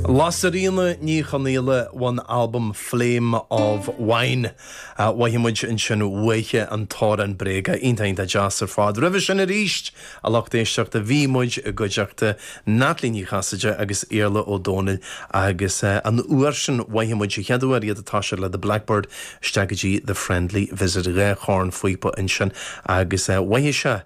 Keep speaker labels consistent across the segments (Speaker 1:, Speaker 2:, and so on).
Speaker 1: Lasairfhíona Ní Chonaola ón albam Flame of Wine. Mhothaigh muid ansin uaithi an t-amhrán bréige. Iontach iontach deas ar fad. Roimhe sin arís, a lucht éisteachta, bhí muid i gcuideachta Natalie Ní Chasaide agus Iarla Ó Dónaill agus an uair sin mhothaigh muid an chéad uair iad ag toiseacht le The Blackbird isteach go dtí The Friendly Visit. 2 chornphíopa ansin agus mhothaigh sé,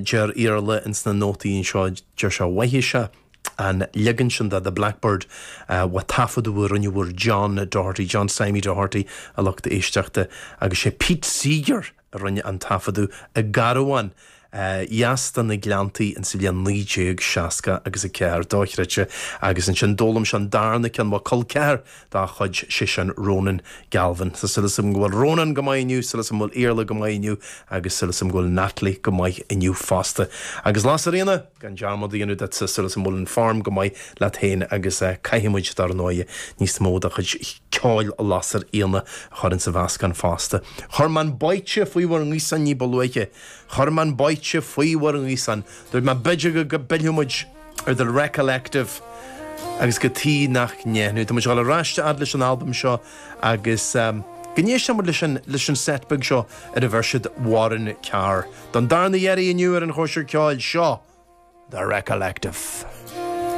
Speaker 1: deir Iarla ins na nótaí anseo, deir sé mhothaigh sé, an leagan sin de The Blackbird ó taifeadadh a rinneadh ar John Doherty, John Stymie Doherty, a lucht éisteachta, agus sé Pete Seeger a rinne an taifeadadh i gcarbhán dheas de na Gleanntaí insa bhliain 1960 agus 4, dochreidte. Agus ansin d'fhoghlaim sé an darna ceann ó col ceathar dá chuid, sé sin Ronan Galvin. Tá súil agam go bhfuil Ronan go maith inniu, súil agam go bhfuil Iarla go maith inniu agus súil agam go bhfuil Natalie go maith inniu fosta. Agus Lasairfhíona! Gan dearmad a dhéanamh duitse, súil agam go bhfuil an form go maith leat féin agus caithfidh muid, dar ndóigh, níos mó de chuid ceoil Lasairfhíona a chur insa mheascán fosta. Chuir mé an báite faoi bhur ngaosán ní ba luaithe. Chuir mé an báite faoi bhur ngaosán. Dúirt mé b'fhéidir go bpillfeadh muid ar The Recollective agus cad chuige nach ndéanfadh. Tá muid ag dul ar ais a fhad leis an albam seo agus go n-éistfidh muid leis an leis an set beag seo ar a bheir siad Warren Carr. Don darna iarraidh inniu ar an Chóisir Ceoil, seo The Recollective.